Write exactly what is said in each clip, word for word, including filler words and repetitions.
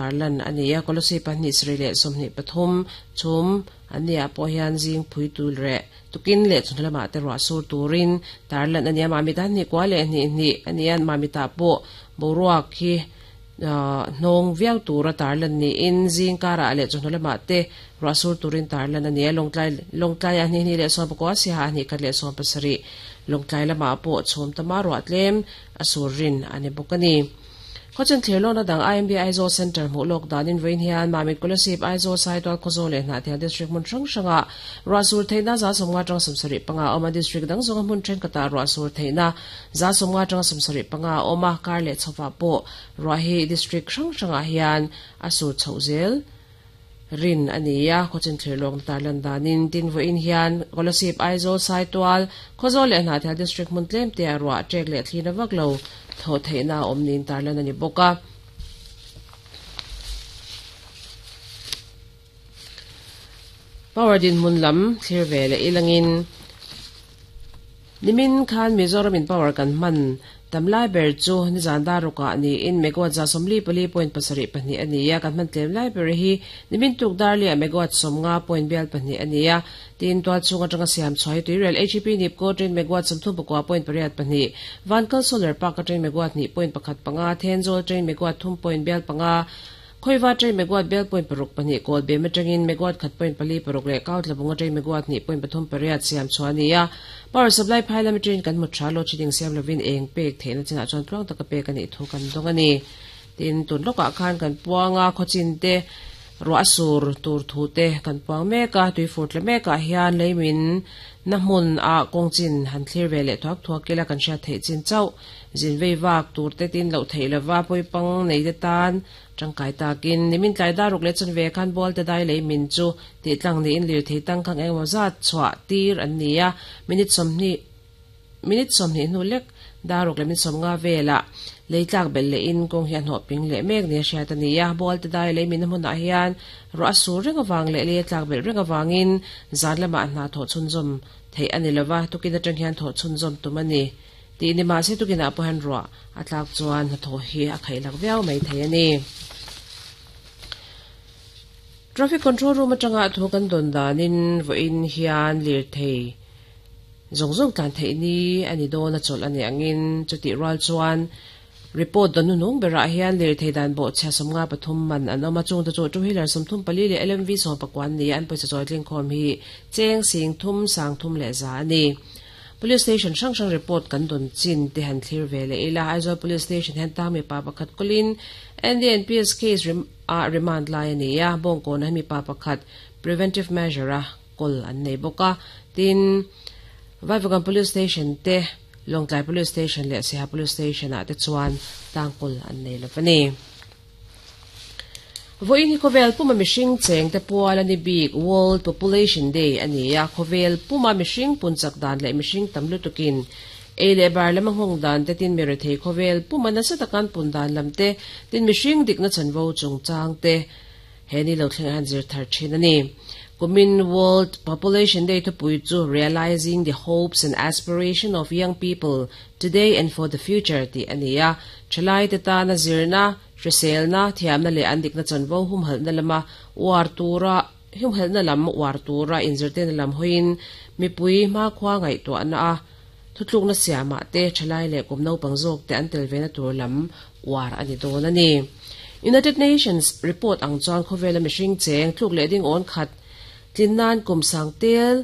tarlan ania kolosi pahnih sri le somni pathum chum ania pawh hian zing phui tul re tukin le chunlama te ro sur turin tarlan ania mami ta ni kwa le ni ni anian mami ta pawh boruak hi nong viau tura tarlan ni in zing kara le chunlama te ro sur turin tarlan ania longtlai longtlai ani ni le som ko si ha ni khat le som pasari longtlai lama pawh chhum tama ro atlem asurin ani bokani Khochan thlelona dang I M B Aizawl Center mu lok danin vein hian Mamit Kolasib Aizawl Saitual Khawzawl leh Hnahthial District hmun hrang hranga ruahsur theihna za sawmnga tang sawmsarih panga awma district dang zawnga hmun thenkhatah ruahsur theihna za sawmnga tang sawmsarih panga awma kar leh chhowa pawh ruah hi district hrang hrangah hian a sur chhoh zel rin ania khawchan thlelawng tarlan danin tin vawiin hian Kolasib Aizawl Saitual Khawzawl leh Hnahthial District hmun tlem te a ruah ṭek leh thlina vak lo tho theihna awm nin tarlan ani bawka power din mun lam thlir ve le ilangin nimin khan Mizoram in power kan man tamlai ber chu ni zan daruka ni in megawatt za somli pali point pasarih pahnih ania kan man tlem lai ber hi nimin tuk darlia megawatt somnga point bial pahnih ania tin tual chunga tanga siam chhoi tuirel H P nipko train megawatt samthum pakua point pariat pahnih vankal solar park train megawatt ni point pakhat panga thenzawl train megawatt thum point bial panga khoiwa train megawatt bel point paruk pahnih kol be matangin megawatt khat point pali paruk le kautlabunga train megawatt ni point pathum pariat siam chhuania power supply phailam train kan mu thalo chiding siam lovin eng pek theina china chuan tluang taka pek ani thu kan dong ani tin tun loka khan kan puanga khochin te ro asur tur thu te kan puang meka tui furt le meka hian leimin na hmun a kongchin han thlir ve le thuak thuak kela kan hria thei chin chau zin vei wak tur te tin lo thei lova poi pang nei te tan tangkai takin nimin tlai daruk le chan ve khan bol te dai leimin chu ti tlang ni in lir thei tang khang engemaw zat chhuah tir an nia minute sawmhnih minute sawmhnih hnu lek daruk le min sawmnga vela leitlak bel le in kawng hian hnawh ping leh mek ni a hriat ani a bol te dai leimin a hmunah hian ro a sur reng awang leh leitlak bel reng awangin zan lamah hna thawh chhunzawm theih ani lova tukin atang hian thawh chhunzawm tum ani ti ni ma se tukin ah pawh hian ruah a tlak chuan hnathawh hi a khaih lak viau mai thei ani. Traffic control room atanga thu kan don danin vawiin hian lir thei zong zong tlan thei ni ani dawn a chawlh ani angin chuti rual chuan report don nung berah hian lir thei dan bo chhia sawmnga pathum man an awm a chung te chu two wheeler sawmthum pali leh L M V sawm pakua ni an pawisa chawi tling khawm hi cheng sing thum sang thum leh za ani. Police station hrang hrang report kan don chin te han thlir ve le ila Aizawl Police Station hian tang mi pa pakhat kulin N D N P S case rem a remand lai ani a bawngkawn mi pa pakhat preventive measure a kol an nei bawka tin Vaivakawn Police Station te Longtlai Police Station leh Siaha Police Station ah te chuan tangkul an nei lovani. Vawiin hi khawvel puma mihring cheng te pual ani bik World Population Day ani a khawvel puma mihring punchak dan leh mihring tam lutukin ei leh bar lama nghawng dan te tin mere thei khawvel puma nasa takan pun dan lam te tin mihring dikna chanvo chungchang te he ni lo thleng han zir thar thin ani. Kumin World Population Day thupui chu Realizing the Hopes and Aspiration of Young People Today and for the Future ti ani a thalai te tana zirna hriselna thiamna leh an dikna chanvo humhalna lama war tura humhalna lam war tura inzirtena lam hoin mipui hma khua ngaihtuahna a thutlukna siamah te thalai leh kum naupang zawk te an tel vena tur lam war ani dawn ani. United Nations report ang chuan khawvela mihring cheng tluk leh ding awn khat tinnan kum sang tel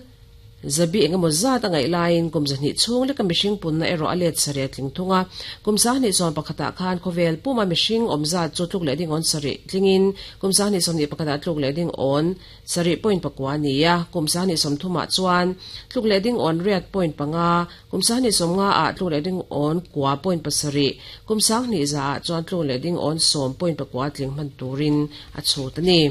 zabi engemaw zat a ngaih laiin kum zahnih chhung leka mihring punna erawh a let sarih tling thunga kum sahnih sawm pakhatah khan khawvel puma mihring awm zat chu tluk leh ding awn sarih tlingin kum sahnih sawmhnih pakhatah tluk leh ding awn sarih point pakua ani a kum sahnih sawmthumah chuan tluk leh ding awn riat point panga kum sahnih sawmnga ah tluk leh ding awn kua point pasarih kum sahnih za ah chuan tluk leh ding awn sawm point pakua tling hman turin a chhut ani.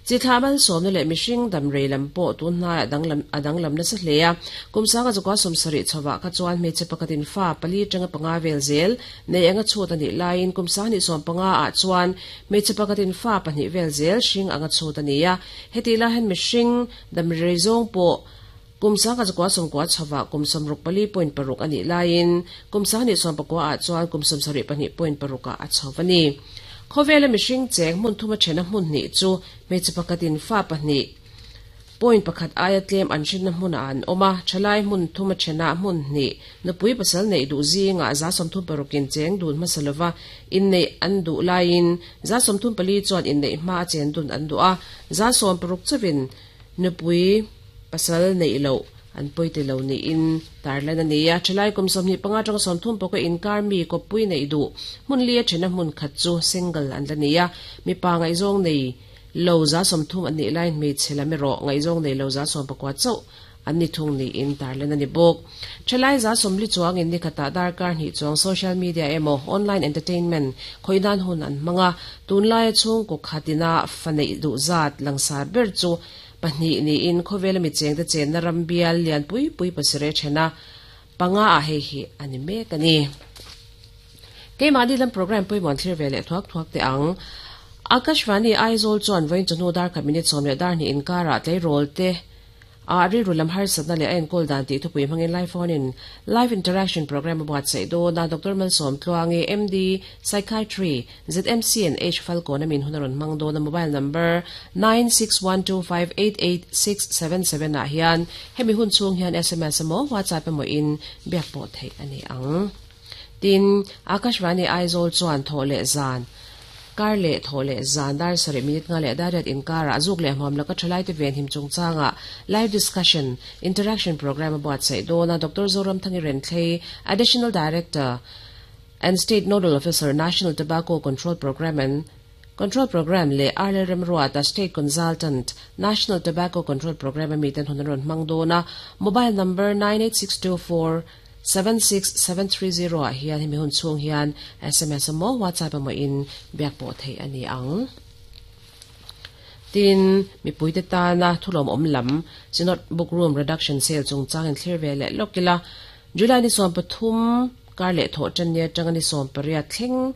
Chi thamal somna leh mihring damrei lam pawh tun hnai adang lam adang lam nasa hle a kum sanga chukwa sawmsarih chhowa kha chuan hmeichhe pakhatin fa pali tanga panga vel zel nei anga chhut ani laiin kum sahnih sawm panga ah chuan hmeichhe pakhatin fa pahnih vel zel hring anga chhut ani a heti la hen mihring damrei zawng pawh kum sanga chukwa sawmkua chhowa kum sawmruk pali point paruk ani laiin kum sahnih sawm pakua ah chuan kum sawmsarih pahnih point paruk ah a chhowa ni. Khawvela mihring cheng hmun thuma thena hmun hnih chu hmeichhe pakhatin fa pahnih point pakhat aia tlem an hrinna hmunah an awm a, thalai hmun thuma thena hmun hnih nupui pasal neih duh zingah za sawmthum parukin cheng dun hmasa lova inneih an duh laiin za sawmthum pali chuan inneih hma a chen dun an duh a, za sawm paruk chawin nupui pasal neih loh an pawite lo niin tarlan a ni a. Thalai kum sawmhnih panga atanga sawmthum pawka inkar mi kawppui neih duh hmun li a thena hmun khat chu single an la ni a, mipa ngaihzawng nei lo za sawmthum an nih laiin hmeichhe lam erawh ngaihzawng nei lo za sawm pakua chauh an ni thung niin tarlan a ni bawk. Thalai za sawmli chuangin ni khatah darkar hnih chuang social media emaw online entertainment khawinan hun an hmang a, tunlaia chhungkaw khatina fa neih duh zat langsar ber chu pahnih niin khawvela mi chengte chenna ram bial lian pui pui pasarih thena panga ah hei hi a ni mek a ni. Keimahni lam program pawimawh an thlir ve leh thuak thuak teh ang. Akashvani Aizawl chuan vawiin chawhnu dar khat minute sawm leh dar hnih inkarah tleirawl te a rilru lam harsatna leh a enkawl dan tih thupui hmangin live phone in live interaction program a buatsaih dawn a. Doctor Malsawm Tluangi, M D, Psychiatry, Z M C and H Falkawn a min hun a rawn hmang dawn a. Mobile number nine six one two five eight eight six seven seven ah hian hemi hun chhung hian S M S emaw WhatsApp emaw in biak pawh theih a ni ang. Tin, Akashvani Aizawl chuan thaw leh zan kar leh thaw leh zan dar sarih minute nga leh dariat inkarah zuk leh hmuam laka thalai te ven him chungchangah live discussion interaction program a buatsaih dawn a. Doctor Zoram Thangi Renthlei, Additional Director and State Nodal Officer, National Tobacco Control Program and Control Program leh Arlel Remruata, State Consultant, National Tobacco Control Program a miten hun a rawn hmang dawn a. Mobile number nine eight six two four seven six seven three zero ah hian hemi hun chhung hian S M S emaw WhatsApp emaw in biak pawh theih a ni ang. Tin, mipuite tana thulawm awm lam Synod Book Room Reduction Sale chungchang in thlir ve leh lawk ila. July ni sawm pathum kar leh thawh tan nia tanga ni sawm pariat thleng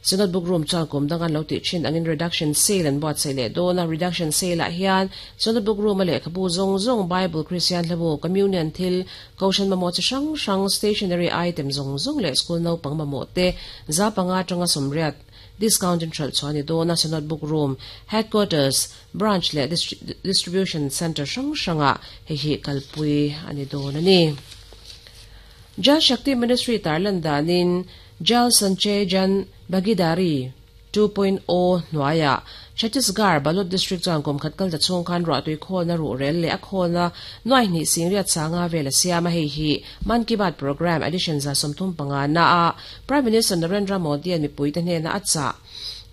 Synod Book Room chuan kum dang an lo tih thin angin reduction sale an buatsaih leh dawn a. Reduction sale ah hian Synod Book Room a lehkhabu zawng zawng Bible, Christian hlabu, Communion thil, Kohhran mamawh chi hrang hrang, stationery item zawng zawng leh school naupang mamawh te za panga atanga sawmriat discount in hralh chuan ni dawn a. Synod Book Room Headquarters, Branch leh Distribution Center hrang hrangah hei hi kalpui a ni dawn a ni. Jal Shakti Ministry tarlan danin Jal Sanchay Jan Bhagidari two point oh hnuaiah Chhattisgarh Balod District chuan kum khat kal ta chhung khan ruahtui khawlna ruh rel leh a khawlna nuai hnih singriat sanga vel a siam a. Hei hi Mann Ki Baat program edition za sawmthum panga na a Prime Minister Narendra Modi an mipuite hnena a chah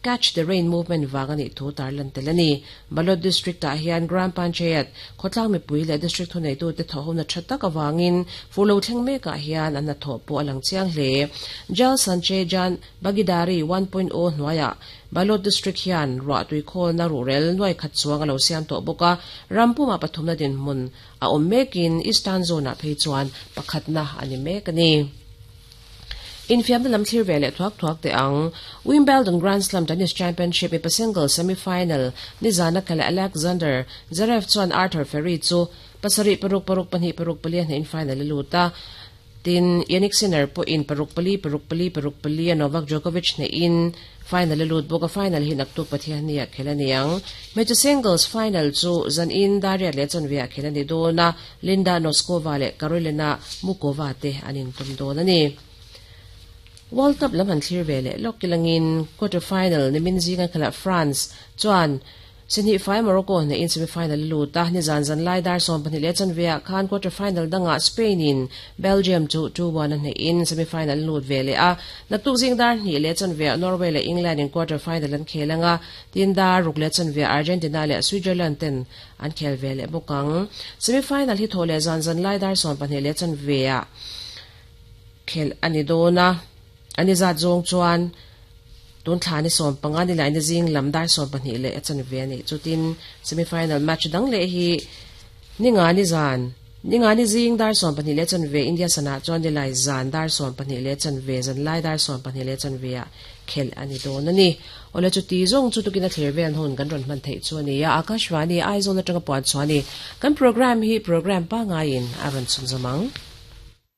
Catch the Rain movement wang ani thu tarlan tel ani. Balod District ah hian Gram Panchayat khawtlang mipui leh district thunei tu te thawhna tha tak awangin fulo thleng mekah hian an hna thawh pawh a lang chiang hle. Jal Sanchay Jan Bhagidari one point oh hnuaiah Balod District hian ruahtui khawlna ruhrel nuai khat chuang a lo siam tawh bawk a, rampuma pathumna dinhmun a awm mekin Eastern Zone ah phei chuan pakhatna ani mek ani. Infiamna lam thlir ve leh thuak thuak teh ang. Wimbledon Grand Slam Tennis Championship mipa single semi-final nizana khala Alexander Zverev chuan Arthur Fery chu pasarih paruk paruk pahnih paruk pali a hnehin final a lut a. Tin, Jannik Sinner pawh in paruk pali paruk pali paruk pali a Novak Djokovic hnehin final a lut bawk a. Final hi naktuk Pathian ni a khel a ni ang. Hmeichhe singles final chu zan in Dariat leh chanve a khel a ni dawn a. Linda Noskova leh Karolina Mukova te an intum dawn a ni. World Cup lam han thlir ve leh lawk kilangin quarter final nimin zinga khala France chuan Sihnih fai Morocco hnehin semi-final lut a. Ni zan zan lai dar sawm pahnih leh chanve ah khan quarter final dangah Spain in Belgium chu two one a hnehin semi-final lut ve leh a. Naktuk zing dar hnih leh chanve ah Norway leh England in quarter final an khel anga. Tin dar ruk leh chanve ah Argentina leh Switzerland ten an khel ve leh bawk ang. Semi-final hi thaw leh zan zan lai dar sawm pahnih leh chanve ah khel ani dawn a. Ani zat zawng chuan tun thla ni sawm panga ni lai ni zing lam dar sawm pahnih leh a chanve ani. Chutin semi-final match dang leh hi ninga ni zan ninga ni zing dar sawm pahnih leh chanve India sana chuan ni lai zan dar sawm pahnih leh chanve zan lai dar sawm pahnih leh chanve ah khel ani dawn ani. Ole chu ti zawng chu tukin a thlir vel hun kan rawn hman theih chu ani a. Akashvani Aizawl atanga puan chuani kan program hi program pa ngaiin a rawn chhun zawmang.